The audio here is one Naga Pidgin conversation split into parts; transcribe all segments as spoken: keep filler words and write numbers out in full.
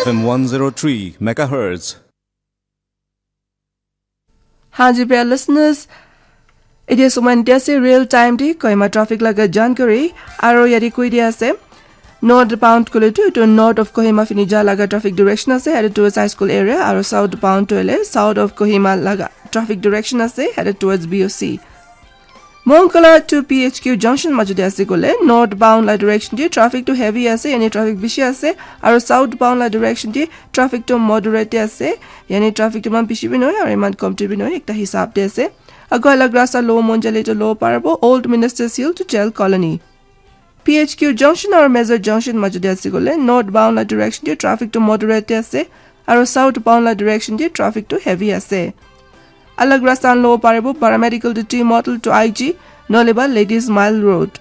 F M one zero three megahertz. Haji pya listeners, it is one real time di Kohima traffic laga jankari aro yadi koi dia ase. Northbound kule tu etu north of Kohima fini ja laga traffic direction ase, headed towards high school area, aro southbound tu ele south of Kohima laga traffic direction ase, headed towards B O C. Mongkala to P H Q junction majute ase kole northbound la direction di traffic tu heavy ase, yani traffic bishi ase, aro southbound la direction di traffic tu moderate ase, yani traffic tu man bishi bi noy aro iman kom tu bi noy, ekta hisab de ase. Ago alag rasta lo Monjali to lo parabo Old Ministers Hill to Jail Colony. P H Q junction aro Major junction majute ase kole northbound la direction di traffic tu moderate ase, aro southbound la direction di traffic tu heavy ase. Alag rasta lo parabo Paramedical to T Model to I G, noleba Ladies Mile Road.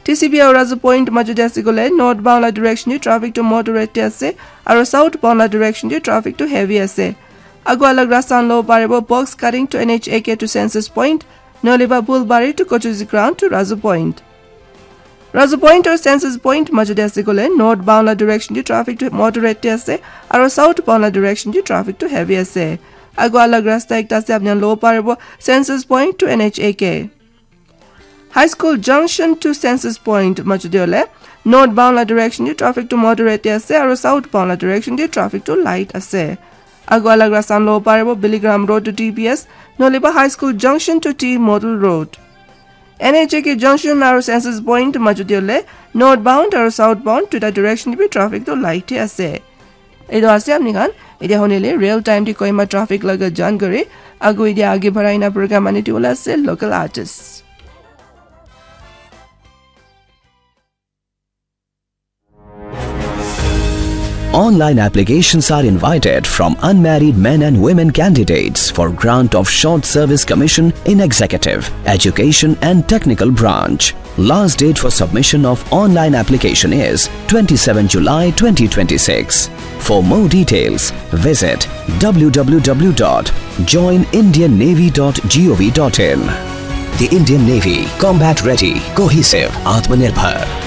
T C B aro Razu Point majute ase kole northbound la direction di traffic tu moderate ase, aro southbound la direction di traffic tu heavy ase. Ago alag rasta lo parabo Box Cutting to N H A K to Census Point, noleba Bulbari to Kochuzi Ground to Razu Point. Razu Point or Census Point majute ase kole northbound la direction di traffic tu moderate ase, aro southbound la direction di traffic tu heavy ase. Ago alag rasta ekta ase, apni lo parabo Census Point to N H A K. High School junction to Census Point majute ole northbound la direction di traffic tu moderate ase, aro southbound la direction di traffic tu light ase. Ago alag rasta lo parabo Billy Graham Road to T B S, noleba High School junction to T Model Road. N H A K junction aro Census Point majute ole northbound aro southbound tuita direction bi traffic tu light he ase. Etu ase apni khan, etia honile real time di Kohima traffic laga jankari, ago etia age barai na program ani di wala ase local artist. Online applications are invited from unmarried men and women candidates for grant of short service commission in executive, education and technical branch. Last date for submission of online application is twenty-seven July twenty twenty-six. For more details, visit w w w dot join indian navy dot gov dot in. The Indian Navy, combat ready, cohesive, Atmanirbhar.